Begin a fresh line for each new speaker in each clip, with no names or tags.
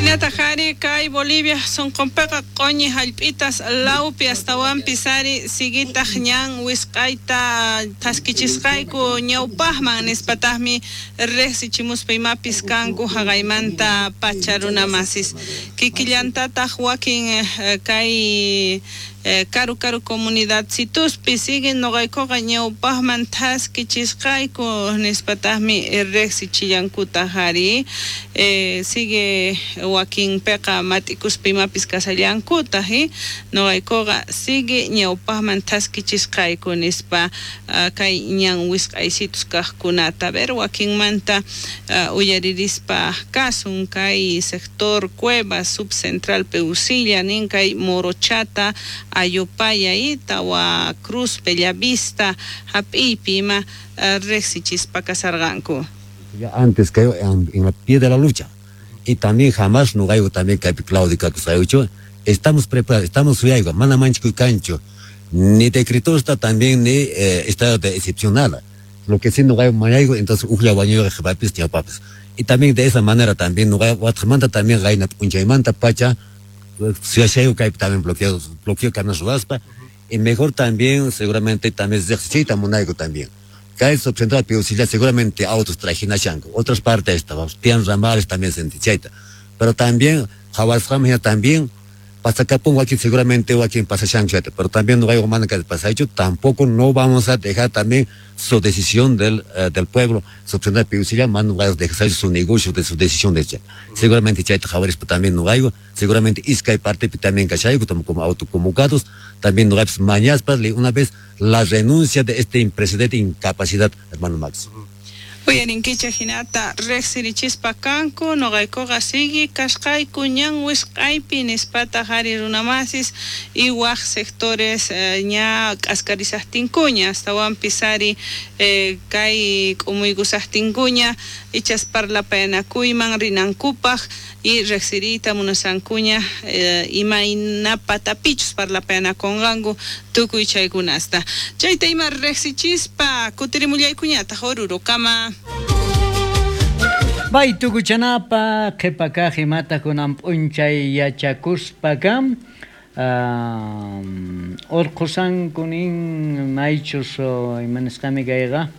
Hinataq ari kay Bolivia sunqunpiqa q'uñi hallp'itas lawpi astawanpis ari siguitaq ñan wisq'ayta thaskichisqayku ñawpaqman nispataqmi riqsichimuspa imapis kanku haqaymanta pacha runamasis kikillantataq wakin kay karu karu comunidadcituspi siguen nuqaykuqa ñawpaqman thaskichisqayku nispataqmi riqsichillankutaq ari sigue wakinpiqa mat'ikuspa imapis kashallankutaq nuqaykuqa sigue ñawpaqman thaskichisqayku nispa kay ñan wisq'aysitus kaqkunata a ver wakinmanta uyaririspa kasun kay sector Cuevas subcentral Peusilla nin kay Morochata Ayopaya y Tawa Cruz Bellavista hap'iypi ima riqsichispa kasarqanku.
Ya antes que en la pie de la lucha y también jamás nuqayku también kaypi claudicakusqaykuchu estamos preparados, estamos suyayku, mana manchakuy kanchu ni decretosta también ni estado de excepción nada. Lo que sí nuqayku mañayku entonces ujlla wañuyqa qhipapis ñawpapis. Y también de esa manera también nuqayku watqamanta también qayna p'unchaymanta pacha suyashayku kaypi también bloqueo bloqueo kanas ruwaspa y mejor también seguramente también riqsichiyta munayku también. Kay subcentral Piusilla seguramente autos trajinashanku otras partes tiyan ramales también sentichayta. Pero también qhawasqaman hina también pasakapun wakin seguramente wakin pasashanku chayta, pero también nuqayku mana kay pasaychu tampoco no vamos a dejar también su decisión del pueblo subcentral Piusilla mana nuqayku dejar su negocio de su decisión de chay. Seguramente chayta qhawarispa también nuqayku seguramente iskay partepi también kashayku como autoconvocados también nuqaypis mañaspa una vez la renuncia de este impresidente incapacidad, hermano Max.
Uyarinkichej hinata riqsirichispa kanku nuqaykuqa sigui kasqayku ñan wisq'aypi nispataq ari runamasis y waq sectores ña k'askarisaqtinkuña astawanpis ari kay k'umuykusaqtinkuña ichas parlapayanakuyman rinankupaq y riqsiriyta munasankuña imayna patapichus parlapayanakunqanku tukuy chaykunasta chayta ima riqsichispa kutirimullaykuñataq Orurokama.
Bay tukuchanapa qhipakaq imata kunan p'unchay yachakuspakam urqusanku nin maychus ima nisqami kayqa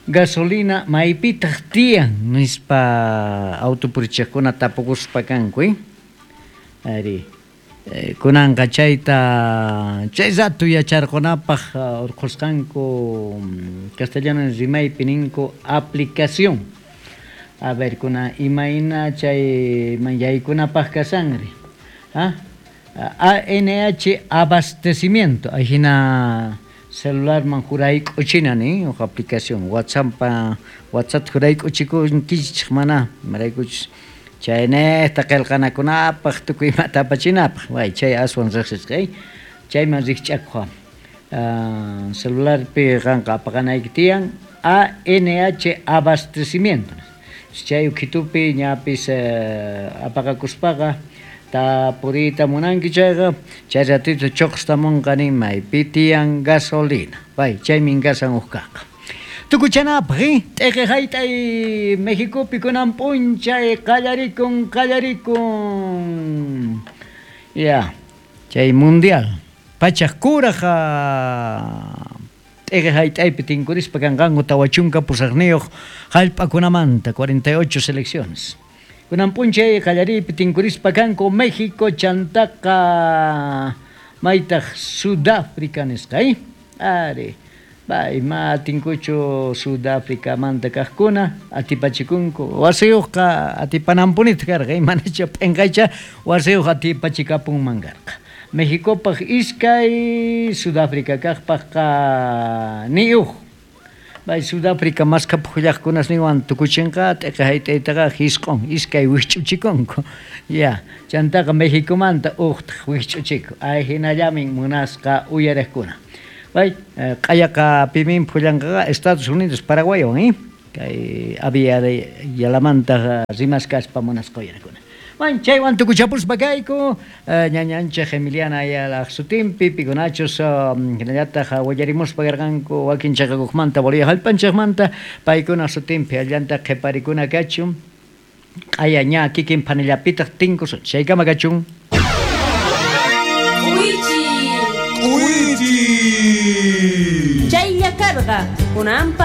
gasolina maypitaq tiyan nispa autopurichiqkuna tapukuspa kanku ari kunanqa chayta chay rato yacharqunapaq urqusqanku castellano rimaypi ninku aplicación a ver kuna imayna chay yaykunapaq kashanri ANH abastecimiento ahina celularman jurayk'uchina nin huk aplicación WhatsApp WhatsApp jurayk'uchikunkichik mana imaraykuchus chaynejta qillqanakunapaq tukuy imata apachinapaq way chay aswan riqsisqa chayman rikch'akuq celularpi qanqa apaqanayki tiyan ANH abastecimiento chay ukhitupi ñapis apaqakuspaqa tapuriyta munanki chayqa chay ratito chuqstamunqa nin maypi tiyan gasolina way chaymin kasan huk kaqqa tukuchanapaq t'iqi hayt'ay Mexicopi kunan p'unchay qallarikun ya chay mundial pachaq kuraq t'iqi hayt'aypi tinkurispa kanqanku 48 hallp'akunamanta 48 selecciones kunan p'unchay qallariypi tinkurispa kanku México chantaqa maytaq Sudáfrica nisqa ari Bay ma tinkuchu Sudáfrica manta kaqkuna atipachikunku wasiyuqqa atipananpunita karqa manacha p'inqaycha wasiyuq atipachikapunman karqa Mexicopaq iskay Sudáfrica kaqpaqqa ni uj bay Sudáfrica maskhapuqllaqkunasninwan tukuchinqa t'iqi hayt'aytaqa hisq'un iskay wikch'uchikunku ya chantaqa Mexicomanta uqtaq wikch'uchiku ay hinallamin munasqa uyariqkuna bay q'ayaqa pimin phullanqaqa Estados Unidos Paraguaywan kay avia yalamanta rimaskaspa munasqa uyarakuna. Man chaywan tukuchapuspa kayku ñañanchej Emiliana Ayalaj sutinpi pikunachus hinallataq willarimuspa karqanku wakin chaqakuqmanta Bolivia hallp'anchikmanta paykuna sutinpi allanta qhiparikuna kachun q'aya ña kikin phanillapitaq tinkusun chaykama kachun.
K'uichi. Chaylla karqa kunanpa.